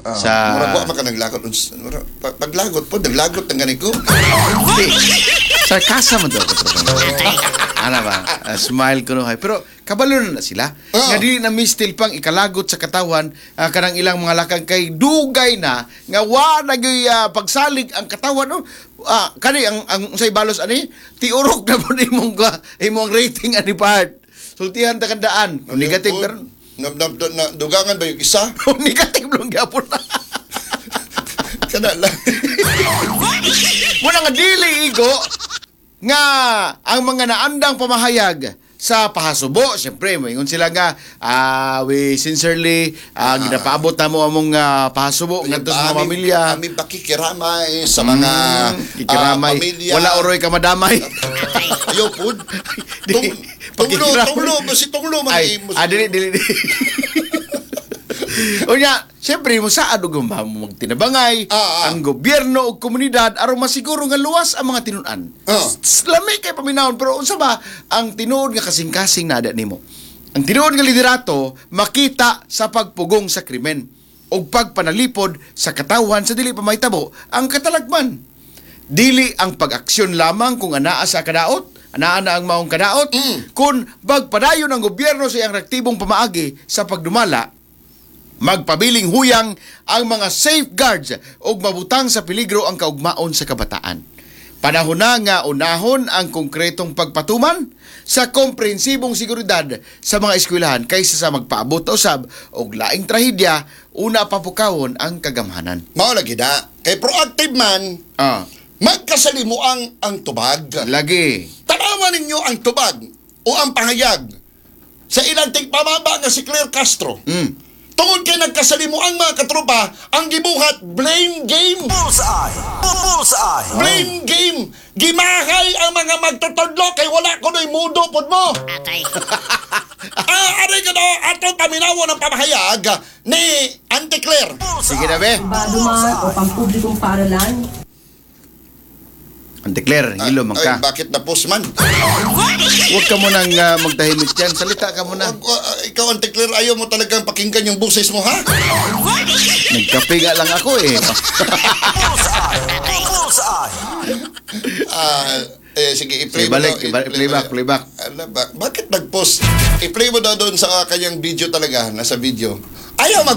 Sa Murag wa man ka naglagot. Paglagot po, naglagot ng gani ko. Di, sarcasm mo daw. Ana ba? Smile ko no hay. Pero kabalo na na sila. Nga dili na mistil pang ikalagot sa katawan kanang ilang mga lakang kay dugay na nga wa na gyud pagsalig ang katawan no. Kani ang unsay balos ani tiurok na po imong imong rating ani part. Sultihan ta kandaan. Kung negative karon. Na, dugangan ba yung isa? Kung negative lang gyapon na. Kana lang. Muna nga dili igo nga ang mga naandang pamahayag sa pahasubo, siyempre, moingon sila nga, we sincerely, ginapaabot na mo among pahasubo ngadto sa mga pamilya. Aming pakikiramay sa mga Kikiramay. pamilya. Wala oroy ka madamay. Ayaw po. Di, Tunglo, pakikiramay. tunglo, si tunglo man. Ay, dili, dili, dili. Unya, siyempre mo saad og magtinabangay ang gobyerno ug komunidad aron masiguro nga luwas ang mga tinun-an. Lami kay paminawon pero unsa ba ang tinuod nga kasing-kasing na nimo? Ang tinuod nga liderato makita sa pagpugong sa krimen ug pagpanalipod sa katawhan sa dili pa mahitabo ang katalagman. Dili ang pag-aksyon lamang kung anaa sa kadaot, anaa na ang maong kadaot, kun magpadayon ang gobyerno sa iyang reaktibong pamaagi sa pagdumala, magpabiling huyang ang mga safeguards ug mabutang sa peligro ang kaugmaon sa kabataan. Panahon na nga unahon ang konkretong pagpatuman sa komprehensibong seguridad sa mga eskwelahan kaysa sa magpaabot usab og laing trahedya una papukawon ang kagamhanan. Mao lagi na. Kay proactive man, magkasalimuang ang tubag. Lagi. Tanawan ninyo ang tubag o ang pahayag sa ilang tigpamaba nga si Claire Castro. Tungod kay nagkasalimuang mga katropa, ang gibuhat blame game. Bullseye! Bullseye! Blame game. Gimahay ang mga magtutudlo kay wala kuno'y mudo pod mo. Aray ka na, atong paminawan ng pamahayag ni Auntie Claire. Sige na be. Pribado man o pampublikong paaralan, Auntie Claire, hilo man ka. Ay, bakit na post man? Huwag ka munang magtahimik dyan. Salita ka muna. Ikaw, Auntie Claire, ayaw mo talagang pakinggan yung boses mo, ha? Nagkape nga lang ako eh. Bullseye! Bullseye! Sige, i-play Sige, mo balik, daw, ibalik, i-play mo playback, daw. playback. Ala, bakit nag-post? I-play mo daw doon sa kanyang video talaga, nasa video. Ayaw mag